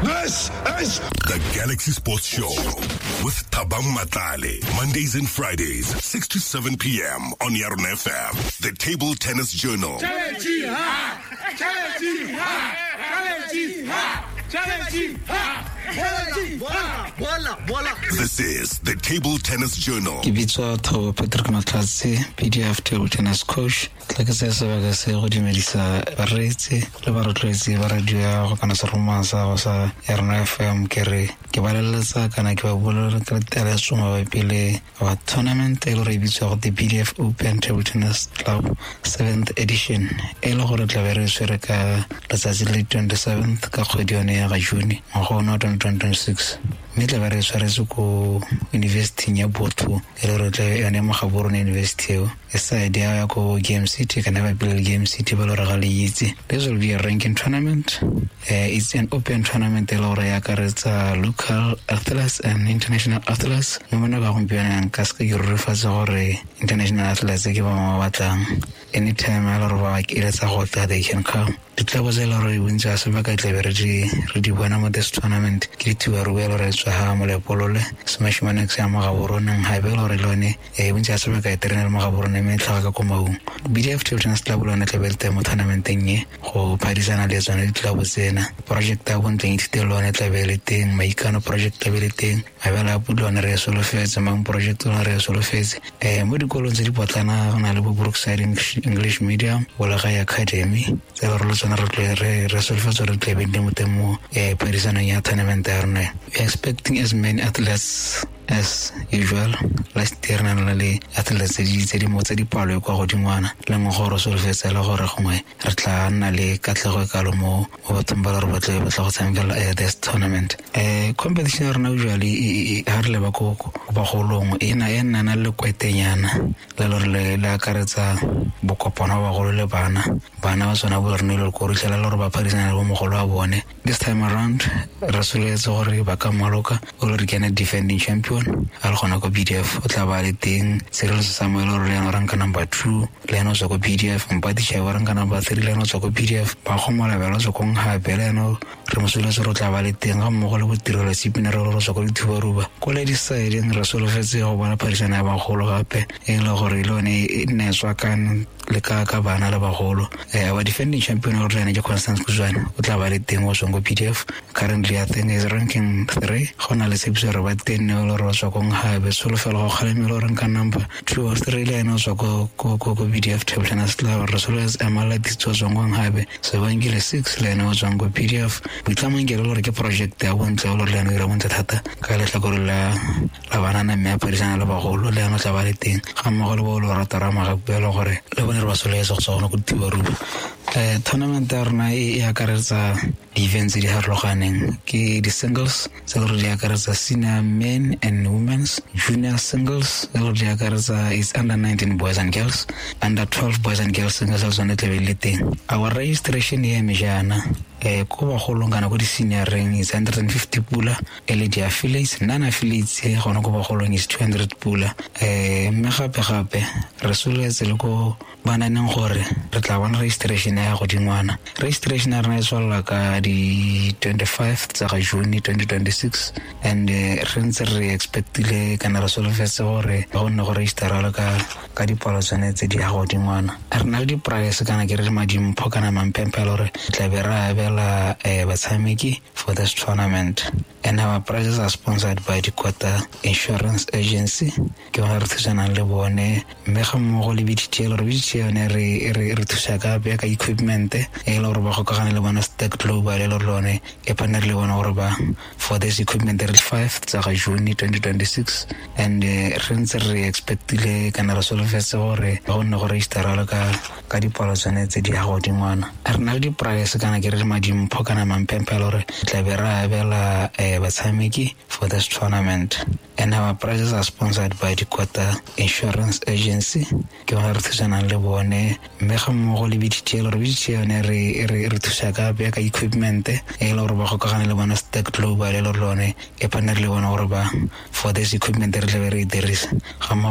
This is the Galaxy Sports Show with Thabang Matlale. Mondays and Fridays, 6 to 7 p.m. on Yarona FM. The Table Tennis Journal. Challenge ha! Challenge ha! Challenge ha! Challenge ha! Challenge ha! Voila, voila. This is the Table Tennis Journal. Ke bitswa Thabo Patrick Matlhatse, PDF table tennis coach. Tla ke tsaya sebaka se go dumedisa bareetsi le barotloetsi ba radio ya go kana seroma sa go sa Yarona FM. Ke re ke ba leletsa kana ke ba bolelela ka teletso mabapi le wa tournament e le gore e bitswa go the PDF Open Table Tennis Club 7th edition, e le gore tla be re tshwere ka letsatsi le 27th ka kgwedi yone ya ga June ngwaga one wa 2026, mme tla be re tshwaretse ko university ya Botho, e le gore tla yone mo Gaborone University eo e side ya ko Game City kana ba pele Game City ba le gore ga le itse. This will be a ranking tournament. It's an open tournament e le gore e akaretsa local athletes and international athletes, mme mo nako ya gompieno nka se ke rurifatse gore international athletes ke ba ba batlang. Anytime a le gore ba eletsa go tla, they can come. Ditlabo tse e le gore bontsi ga sebaka tlabe re di bona mo this tournament ke dithubaruba e le gore e tswa ga Molepolole, Smash Manex ya mo Gaboroneng, gape e le gore le yone bontsi ga sebaka e terena le mo Gaborone mme e tlhaga ka ko Maung. BDF Table Tennis Club le yone tlabe le teng mo tournamenteng e go phadisana le tsone ditlabo tsena. Project ya Bontleng Ithute le yone tlabe le teng, Maikano project tlabe le teng, Mabele a Pudi one re e solofetse, Mang project one re e solofetse. Mo dikolong tse di potlana go na le bo Brookside English Medium, Bolagae Academy, tse le gore le tsone re solofetse gore tlabe di mo teng mo phadisanong ya tournament ya rona. We are expecting as many athletes as usual. Last year na le athletes tse di mo tse di palo e kwa godingwana, le nngwe gore solofetse le gore gongwe re tla nna le katlego e kalo mo bathong ba le gore ba tla go tshamekela this tournament. Competition ya rona usually ha re leba ko bagolong e nna na le kwetenyana le le gore le akaretsa bokopano ba bagolo le bana. Bana ba tsona bo re ne le ko re tlhela le gore ba phadisana le bo mogolo wa bone. This time around re solofetse gore ba ka maloka o le re ke ene defending champion a le gona ko BDF o tla ba le teng. Cyril Samuel o re le ena o ranka number 2, le ena o tswa ko BDF. Mpati Chai o ranka number 3, le ena o tswa ko BDF. Ba Kgomola Bela o tswa ko Nghape, le ena re mo solofetse gore o tla ba le teng, ga mmogo le botirelo Tsipine re re tswa ko Dithubaruba. Ko ladies side re solofetse go bona phadisano ya bagolo gape, e le gore le yone e nne e tswakane le ka bana le bagolo. Our defending champion o re ene ke Constance Kuzwane, o tla ba le teng o tswang ko PDF. Currently I think is ranking 3. Go na le tshepiso gore ba teng ne le gore ba tswa ko Nghabe. Tsholofelo go kgalemela o ranka number 2 or 3, le ene o tswa ko PDF Table Tennis Club. Re solofetse Emma Latitso o tswang ko Nghabe, Sebangile 6 le ene o tswang ko PDF. Boitlamong ke le gore ke project ya bontle o le gore le ene o dira bontle thata ka letlhakore la banana, mme a phadisana le bagolo, le ene o tla ba le teng ga mmogo le bo Lorato Ramagapu e le gore le bone re ba solofetse go tswa gona ko Dithubaruba. Tournament ya rona e akaretsa di-events tse di farologaneng. Ke di-singles tse le gore di akaretsa senior men and women's, junior singles tse le gore di akaretsa it's under 19 boys and girls, under 12 boys and girls singles le tsone tlabe le teng. Our registration e eme jaana, ko bagolong kana ko di-senioreng is 150 pula, e le di-affiliates, non-affiliates gona ko bagolong is 200 pula. Mme gape re solofetse le ko bananeng gore re tla bona registration ya godingwana. Registration ya rona e tswalela ka di 25 tsa ga June 2026, and re ntse re expectile kana re solofetse gore go nne go registera le ka dipalo tsone tse di ya godingwana. Re na le di-price kana ke re le madimpho kana mampempe gore tla be re abela batshameki for this tournament, and our prizes are sponsored by Dikota Insurance Agency. Ke bona re thusanang le bone, mme ga mmogo le BDT, le gore BDT yone re thusa ka ka equipment e le gore ba gokagane le bona Stack Global, e le gore lone e partner le bona gore ba for this equipment re 5 tsa ga June 2026, and re ntse re expectile kana re solofetse gore go nne go registera le ka dipalo tsone tse di ya godingwana. Re na le di-price kana ke re le madimpho kana mampempe gore tla be re abela batshameki for this tournament, and our prizes are sponsored by Dikota Insurance Agency. Ke bona re thusanang le bone, mme ga mmogo le BDT, le gore BDT yone re thusa ka equipment e le gore ba gokagane le bona Stack Global, e le gore lone e partner le bona gore ba for this equipment re tlabe re e dirisa ga mmogo.